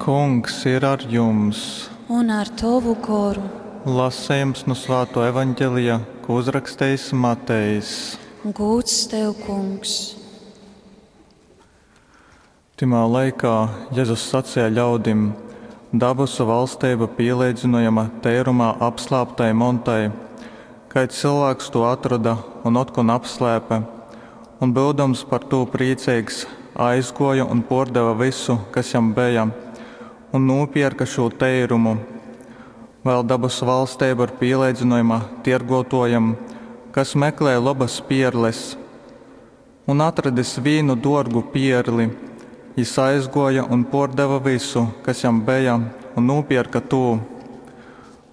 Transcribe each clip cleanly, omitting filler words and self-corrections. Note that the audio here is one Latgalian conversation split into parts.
Kungs ir ar jums! Un ar tovu goru. Lasejums nu Svātuo Evangelija, ko uzrakstejis Matejs. Gūds tev, Kungs! Tymā laikā Jezus saceja ļaudim, Dabasu valsteiba pīleidzynojama teirumā apslāptai montai. Kaids cylvāks tū atroda un otkon apslēpe, un, byudams par tū prīceigs, aizgōja un pōrdeve vysu, kas jam beja, un nūpierka šū teirumu. Vēl dabasu valsteiba ir pīleidzynojama tiergōtōjam, kas meklēja lobas pierles. Un atradis vīnu dōrgu pierli, jis aizgōja un pōrdeve vysu, kas jam beja, un nūpierka tū.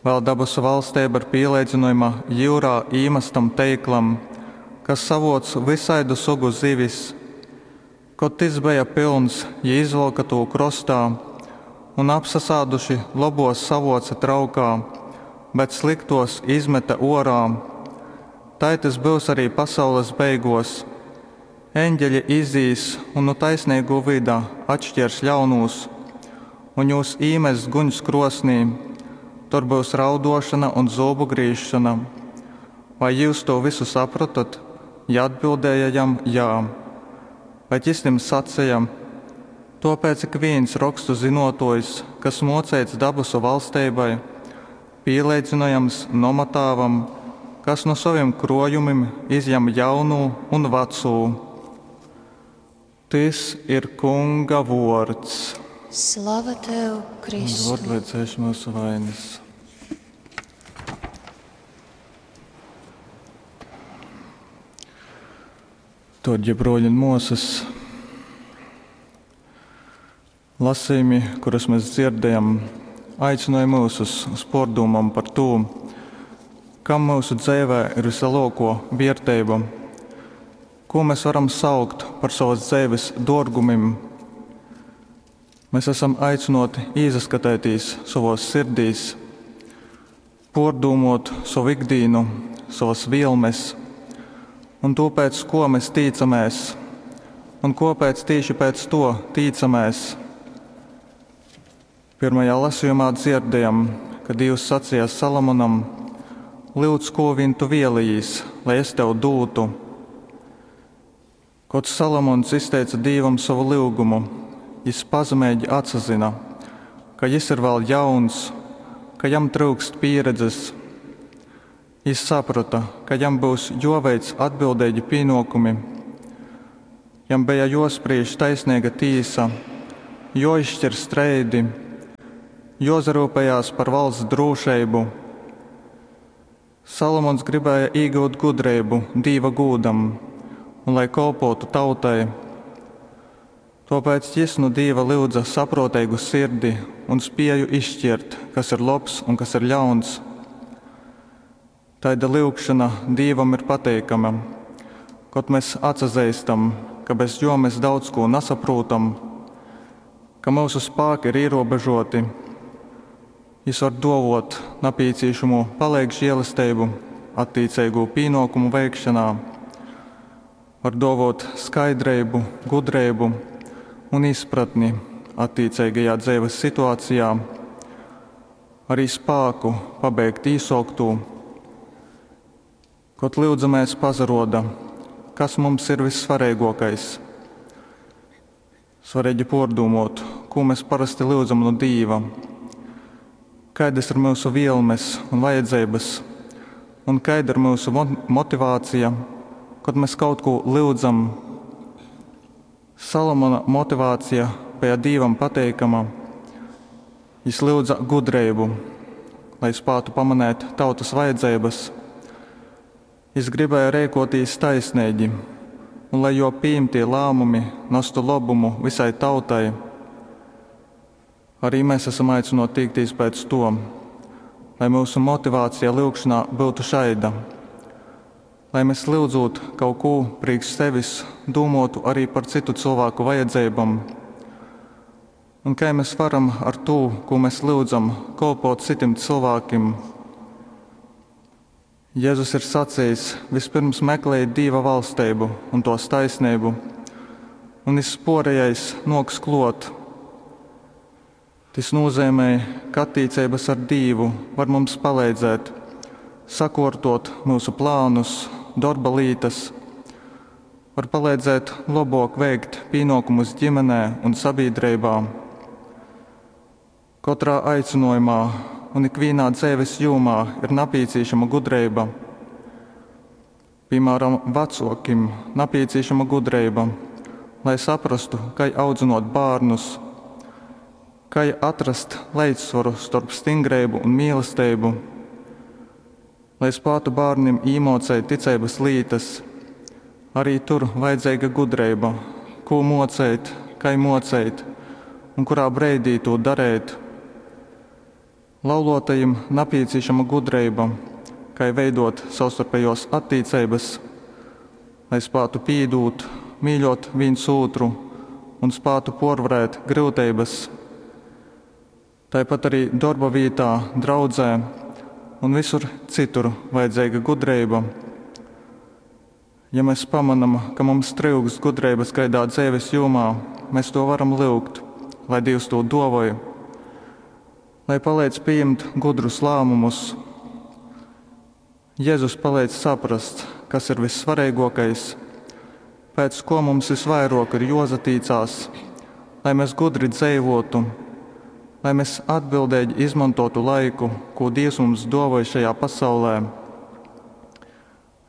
Vēl dabasu valsteiba ir pīleidzynojama jyurā īmastam teiklam, kas savōc vysaidu sugu zivis. Kod tys beja pylns, jī izvylka tū krostā un apsasāduši lobuos savuoce traukā, bet slyktuos izmete uorā. Tai tys byus arī pasaules beiguos. Eņģeļi izīs un nu taisneigū vyda atškiers ļaunūs un jūs īmess guņs kruosnī. Tur byus rauduošona un zūbu grīzšona. Vai jyus tū vysu saprotot? Jī atbildēja jam, Jā. Bet jys tim saceja, Tōpēc ikvīns Rokstu zynōtōjs, kas mōceits dabasu valsteibai, pīleidzynojams nomatāvam, kas nu sovim krōjumim izjam jaunū un vacū. Tys ir Kunga vōrds. Slava tev, Kristu! Vōrd, lai dzēš myusu vainas. Dōrgie brōļi un mōsas, lasījumi, kurus mēs dzirdējam, aicināja mūsus uz pārdomām par to, kam mūsu dzīvē ir vislielāko vērtība, ko mēs varam saukt par savas dzīves dārgumiem. Mēs esam aicināti iesaskatīties savos sirdīs, pārdomot savu ikdienu, savas vielmes un to, pēc ko mēs tīcamies, un kāpēc tieši pēc to tīcamies. Pirmajā lasījumā dzirdējam, ka Dievs sacīja Salomonam: Lūdz, ko vien tu vēlējies, lai es tev dūtu. Kod Salomons izteica Dievam savu lūgumu, jis pazemīgi atsazina, ka jis ir vēl jauns, ka jam trūkst pieredzes. Jis saprata, ka jam būs joveic atbildīgi pienākumi. Jam bija jospriež taisnīga tīsa, joizšķir streidi, jozarūpējās par valsts drošību. Salomons gribēja iegūt gudrību Dieva gūdam un lai kalpotu tautai. Tāpēc jis nu Dieva lūdza saprotīgu sirdi un spēju izšķirt, kas ir labs un kas ir ļauns. Taida lūgšana Dievam ir pateikama, kad mēs atsazīstam, ka bez jo mēs daudz ko nesaprotam, ka mūsu spēki ir ierobežoti. Jis var dovot napīcīšamo palīgu žēlastību attiecīgo pienākumu veikšanā, var dovot skaidrību, gudrību un izpratni attiecīgajā dzīves situācijā, arī spēku pabeigt īsokto. Kod lūdzamies pazaroda, kas mums ir vissvarīgākais. Svarīgi pārdomot, ko mēs parasti lūdzam no Dieva, kādas ir mūsu vielmes un vajadzības, un kāda ir mūsu motivācija, kad mēs kaut ko lūdzam. Salomona motivācija bija Dievam pateikama. Jis lūdza gudrību, lai spētu pamanīt tautas vajadzības. Jis gribēja rēkotīs taisnīgi, un lai jo pieņemtie lēmumi nestu labumu visai tautai. Arī mēs esam aicināti tiekties pēc to, lai mūsu motivācija lūgšanā būtu šaida. Lai mēs lūdzot kaut ko priekš sevis, domātu arī par citu cilvēku vajadzībām. Un kā mēs varam ar to, ko mēs lūdzam, kalpot citiem cilvēkiem? Jēzus ir sacījis, vispirms meklējiet Dieva valstību un tos taisnību, un viss porējais noks klot. Tys nūzeimej, ka attīceibas ar Dīvu var mums paleidzēt sakōrtōt myusu plānus, dorba lītas, var paleidzēt lobōk veikt pīnōkumus gimenē un sabīdreibā. Kotrā aicynōjumā un ikvīnā dzeives jūmā ir napīcīšama gudreiba. Pīmāram, vacōkim napīcīšama gudreiba, lai saprastu, kai audzynōt bārnus, kai atrast leidzsvoru storp stingreibu un mīlesteibu, lai spātu bārnim īmōceit ticeibas lītas. Arī tur vajadzeiga gudreiba, kū mōceit, kai mōceit un kurā breidī tū dareit. Laulōtajim napīcīšama gudreiba, kai veidōt savstarpejōs attīceibas, lai spātu pīdūt, mīļōt vīns ūtru un spātu pōrvarēt gryuteibas. Taipat arī dorba vītā, draudzē un visur citur vajadzeiga gudreiba. Ja mēs pamanam, ka mums tryukst gudreibas kaidā dzeives jūmā, mēs to varam lyugt, lai Dīvs tū dōvoj, lai paleidz pījimt gudrus lāmumus. Jezus paleidz saprast, kas ir vissvareigōkais, pēc ko mums visvairōk ir jōsatīcās, lai mēs gudri dzeivōtu, lai mēs atbildeigi izmantotu laiku, kū Dīvs mums dōvoj šajā pasaulē.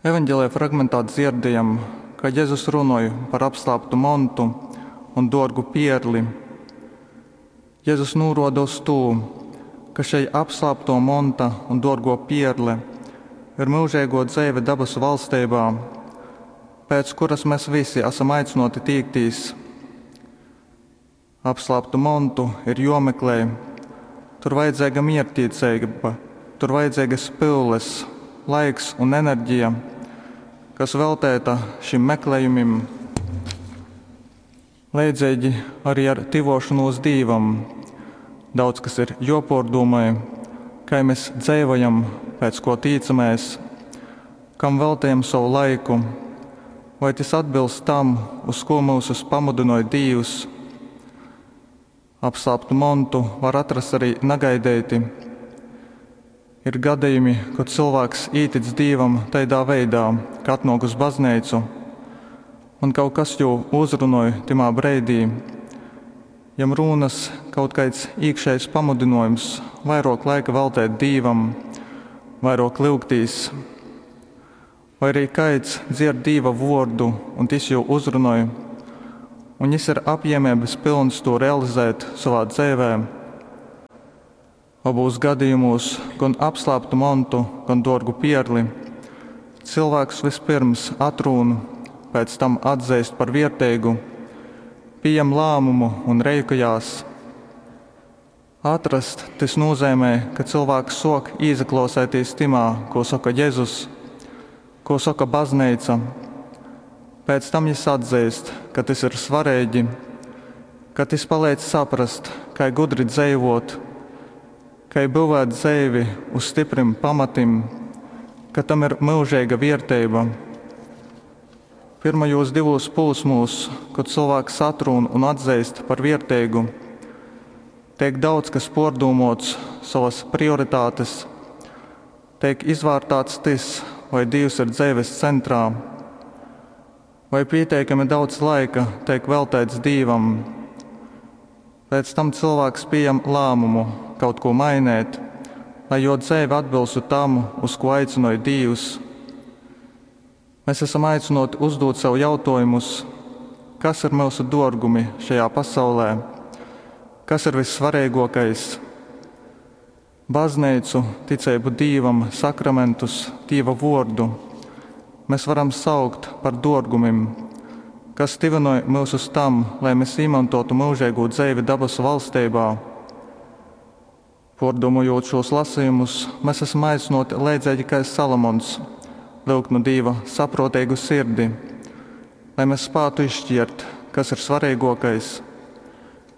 Evaņģēlija fragmentā dzierdējam, ka Jezus runoj par apslāptu montu un dōrgu pierli. Jezus nūroda uz tū, ka šei apslāpto monta un dōrgo pierle ir myužeigō dzeive dabasu valsteibā, pēc kuras mēs visi esam aicināti tīktīs. Apslāptu montu ir jomeklē, tur vajadzīga mierķtiecība, tur vajadzīgas pyules, laiks un enerģija, kas veltēta šim meklējumim. Leidzīgi arī ar tyvošanos Dīvam. Daudz kas ir jopōrdūmoj, kai mēs dzeivojam, pēc ko tīcamies, kam veltējam savu laiku, vai tas atbilst tam, uz ko mūsus pamudinoj Dīvs. Apslāptu montu var atrast arī nagaideiti. Ir gadījumi, kad cilvēks ītic Dīvam taidā veidā, ka atnāk uz baznīcu, un kaut kas jū uzrunoj timā breidī. Jam rūnas kaut kāds iekšējs pamudinojums vairāk laika veltēt Dīvam, vairāk lyugtīs. Vai arī kāds dzird Dīva vārdu un tas jū uzrunoj, un jis ir apjēmības pilns to realizēt savā dzīvē. Abos gadījumos, gan apslēptu montu, gan dārgu pierli, cilvēks vispirms atrūn, pēc tam atzīst par vierteigu, pieņem lēmumu un reikojās. Atrast tas nozīmē, ka cilvēks sok īzaklausēties timā, ko saka Jēzus, ko saka baznīca. Pēc tam jis atzīst, ka tas ir svarīgi, ka tas palīdz saprast, kā gudri dzīvot, kā būvēt dzīvi uz stiprim pamatim, ka tam ir mūžīga vērtība. Pirmajos divos posmos, kad cilvēks atrūn un atzīst par vērtīgu, tiek daudz kas pārdomāts, savas prioritātes, tiek izvērtāts tas, vai Dievs ir dzīves centrā, vai pietiekami daudz laika tiek veltīts Dievam. Pēc tam cilvēks pieņem lēmumu kaut ko mainīt, lai jo dzīve atbilstu tam, uz ko aicināja Dievs. Mēs esam aicināti uzdot sev jautājumus, kas ir mūsu dārgumi šajā pasaulē, kas ir vissvarīgākais. Baznīcu, ticību Dievam, sakramentus, Dieva vārdu mēs varam saukt par dārgumim, kas tivinoj mūs uz tam, lai mēs izmantotu mūžīgo dzīvi dabasu valstībā. Pārdomājot šos lasījumus, mēs esam aicināti leidzīgi kā Salomons, lūgt no Dieva saprotīgu sirdi, lai mēs spētu izšķirt, kas ir svarīgākais,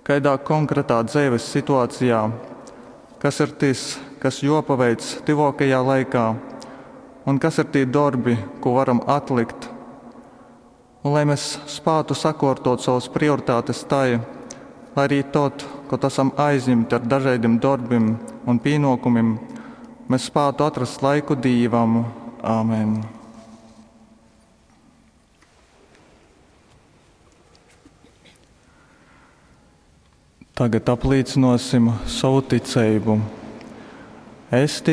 kādā konkrētā dzīves situācijā, kas ir tas, kas jopaveic tuvākajā laikā, un kas ir tie darbi, ko varam atlikt. Un lai mēs spētu sakārtot savas prioritātes tai, lai arī tod, kod asam aizjimti ar dažaidim dorbim un pīnōkumim, mes spātu atrast laiku Dīvam. Amen. Tagad aplīcynōsim sovu ticeibu. Es ticu.